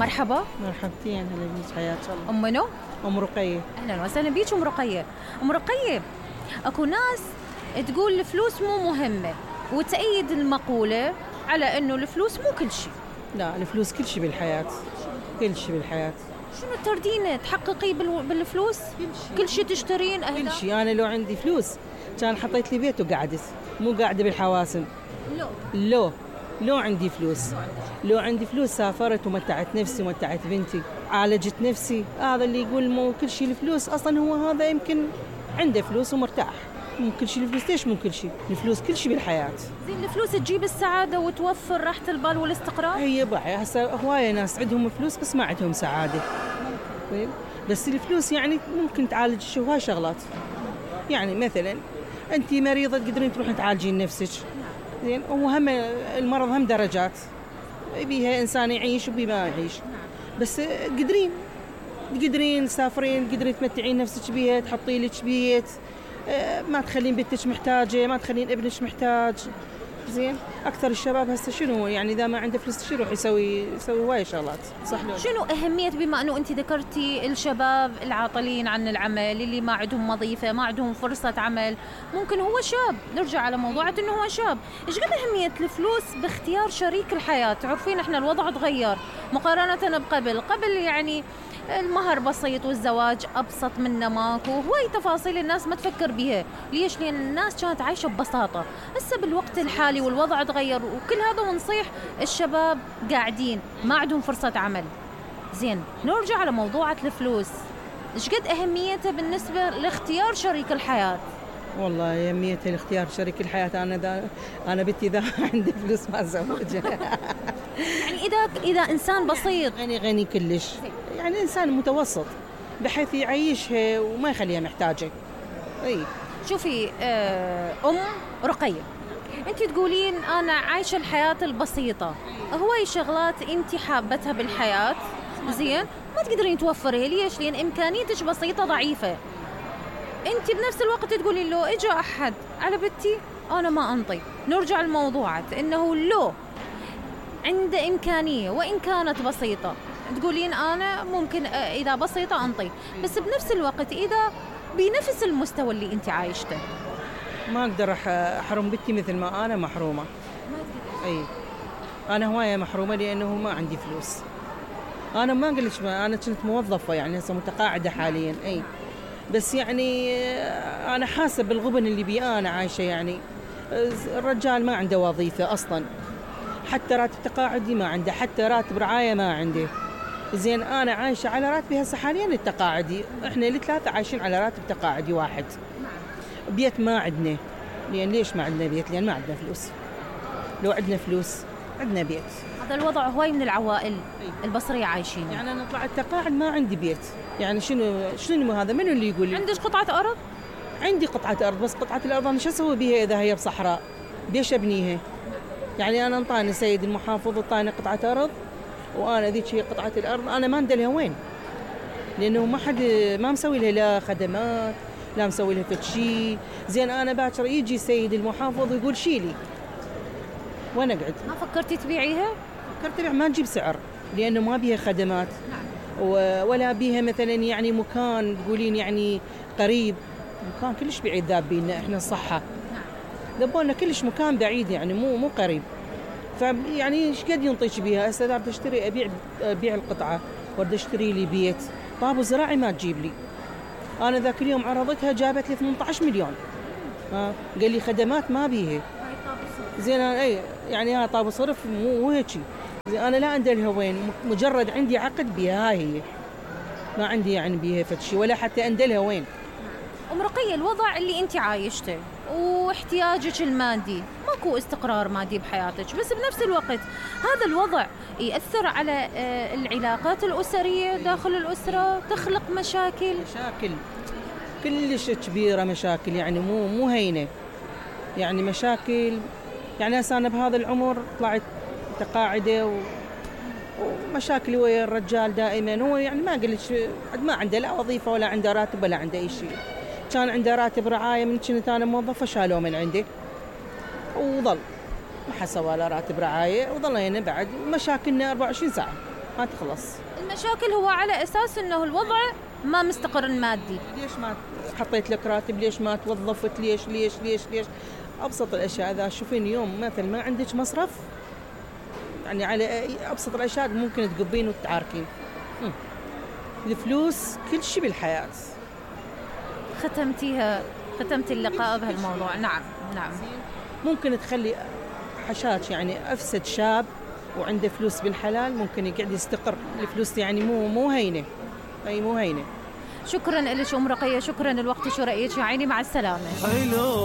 مرحبا. مرحبتين، هلا بيك، حياك الله. أم منو؟ أم رقية. أهلا وسهلا بيك أم رقية. أم رقية، أكو ناس تقول الفلوس مو مهمة وتأيد المقولة على أنه الفلوس مو كل شيء. لا، الفلوس كل شيء بالحياة، كل شيء بالحياة. شنو تردين تحققي بالفلوس؟ كل شيء تشترين أهداف؟ كل شيء. أنا لو عندي فلوس كان حطيت لي بيت وقعدت، مو قاعدة بالحواسم. لو عندي فلوس، لو عندي فلوس سافرت ومتعت نفسي ومتعت بنتي، عالجت نفسي. هذا اللي يقول مو كل شيء الفلوس، أصلا هو هذا يمكن عنده فلوس ومرتاح. مو كل شيء الفلوس. ليش مو كل شيء؟ الفلوس كل شيء بالحياة. زين، الفلوس تجيب السعادة وتوفر راحة البال والاستقرار؟ هي بقى هسه هواية ناس عندهم فلوس بس ما عندهم سعادة. بس الفلوس يعني ممكن تعالج هواي شغلات. يعني مثلا أنت مريضة تقدرين تروحين تعالجين نفسك. زين، وهم المرض هم درجات، بيها إنسان يعيش وبيها ما يعيش. بس تقدرين تسافرين، تقدرين تمتعين نفسك بيها، تحطي لك بيت، ما تخلين بنتك محتاجة، ما تخلين ابنك محتاج. زين، أكثر الشباب هسه شنو يعني إذا ما عنده فلوس شو يروح يسوي هواي شغلات، صح؟ شنو أهمية، بما أنه أنت ذكرتي الشباب العاطلين عن العمل، اللي ما عندهم وظيفة، ما عندهم فرصة عمل، ممكن هو شاب، نرجع على موضوع أنه هو شاب، إيش قد أهمية الفلوس باختيار شريك الحياة؟ تعرفين إحنا الوضع تغير مقارنة قبل يعني المهر بسيط والزواج أبسط منه ماكو، هواي تفاصيل الناس ما تفكر بيها. ليش؟ لأن الناس كانت عايشة ببساطة. هسه بالوقت الحالي والوضع تغير وكل هذا، ونصيح الشباب قاعدين ما عندهم فرصة عمل. زين، نرجع على موضوعة الفلوس، إيش قد أهميتها بالنسبة لاختيار شريك الحياة؟ والله أهميتها لاختيار شريك الحياة، أنا بنتي إذا عندي فلوس ما أزوجها. يعني إذا إنسان بسيط غني كلش، يعني إنسان متوسط بحيث يعيشها وما يخليها محتاجة. شوفي أم رقية، أنت تقولين أنا عايشة الحياة البسيطة، هواي شغلات أنت حابتها بالحياة، زين، ما تقدرين توفرها. ليش؟ لأن إمكانيتك بسيطة ضعيفة. أنت بنفس الوقت تقولين لو إجا أحد على بنتي أنا ما أنطي. نرجع لموضوعة إنه لو عنده إمكانية وإن كانت بسيطة، تقولين أنا ممكن إذا بسيطة أنطي، بس بنفس الوقت إذا بنفس المستوى اللي أنت عايشته ما أقدر أحرم بنتي مثل ما أنا محرومة. أنا هواية محرومة لأنه ما عندي فلوس. أنا ما قلتش، أنا كنت موظفة، يعني هسه متقاعدة حاليا. بس يعني أنا حاسة بالغبن اللي بي أنا عايشة. يعني الرجال ما عنده وظيفة أصلا، حتى راتب تقاعدي ما عنده، حتى راتب رعاية ما عنده. زين، أنا عايشة على راتبي هسه حاليا التقاعدي. إحنا الثلاثة عايشين على راتب تقاعدي واحد. بيت ما عندنا. ليش ما عندنا بيت؟ لأن ما عندنا فلوس. لو عندنا فلوس عندنا بيت. هذا الوضع هواي من العوائل البصرية عايشين. يعني أنا طلعت تقاعد ما عندي بيت. يعني شنو هذا؟ منو اللي يقول لي؟ عندك قطعة أرض؟ عندي قطعة أرض، بس قطعة الأرض أنا شو أسوي بيها إذا هي بصحراء؟ بيش أبنيها؟ يعني أنا انطاني سيد المحافظ، انطاني قطعة أرض، وأنا ذيك هي قطعة الأرض، أنا ما ندلها وين؟ لأنه ما مسوي لها لا خدمات، لا مسوي لها فد شيء. زين، أنا باكر يجي سيد المحافظ ويقول شيلي، وين أقعد؟ ما فكرتي تبيعيها؟ فكرت أبيع، ما تجيب سعر، لأنه ما بيها خدمات ولا بيها مثلا يعني مكان تقولين يعني قريب. مكان كلش بعيد ذاب بينا إحنا الصحة، ذبولنا كلش مكان بعيد، يعني مو قريب. فيعني ايش قد ينطيش بيها؟ هسه اذا بدي اشتري ابيع القطعه وارد اشتري لي بيت، طابو زراعي ما تجيب لي. انا ذاك اليوم عرضتها جابت لي 18 مليون. قال لي خدمات ما بيها. زين، يعني طابو صرف مو هيك. انا لا اندلها وين، مجرد عندي عقد بيها، هاي هي، ما عندي يعني بيها فد شيء ولا حتى اندلها وين. أم رقية، الوضع اللي أنت عايشته واحتياجك المادي، ماكو استقرار مادي بحياتك، بس بنفس الوقت هذا الوضع يأثر على العلاقات الأسرية داخل الأسرة، تخلق مشاكل كلش كبيرة، مشاكل يعني مو هينة، يعني مشاكل. يعني هسه أنا بهذا العمر طلعت تقاعدة ومشاكل ويا الرجال دائما. هو يعني ما قلت ما عنده لا وظيفة ولا عنده راتب ولا عنده أي شيء. كان عنده راتب رعاية من كنت أنا موظفة، شالوه من عندي وظل ما حسوا له راتب رعاية، وظل هنا بعد مشاكلنا 24 ساعة. ما تخلص. المشاكل هو على أساس أنه الوضع ما مستقر مادي. ليش ما حطيت لك راتب؟ ليش ما توظفت؟ ليش ليش ليش ليش؟ أبسط الأشياء. إذا شوفين يوم مثل ما عندك مصرف، يعني على أبسط الأشياء ممكن تقبين وتتعاركين. الفلوس كل شيء بالحياة. ختمتي اللقاء بهالموضوع. نعم. ممكن تخلي حشاش يعني أفسد شاب وعنده فلوس بالحلال ممكن يقعد يستقر. الفلوس يعني مو هينة، أي مو هينة. شكرا لك أم رقية، شكرا الوقت شو رأيك يا عيني، مع السلامة.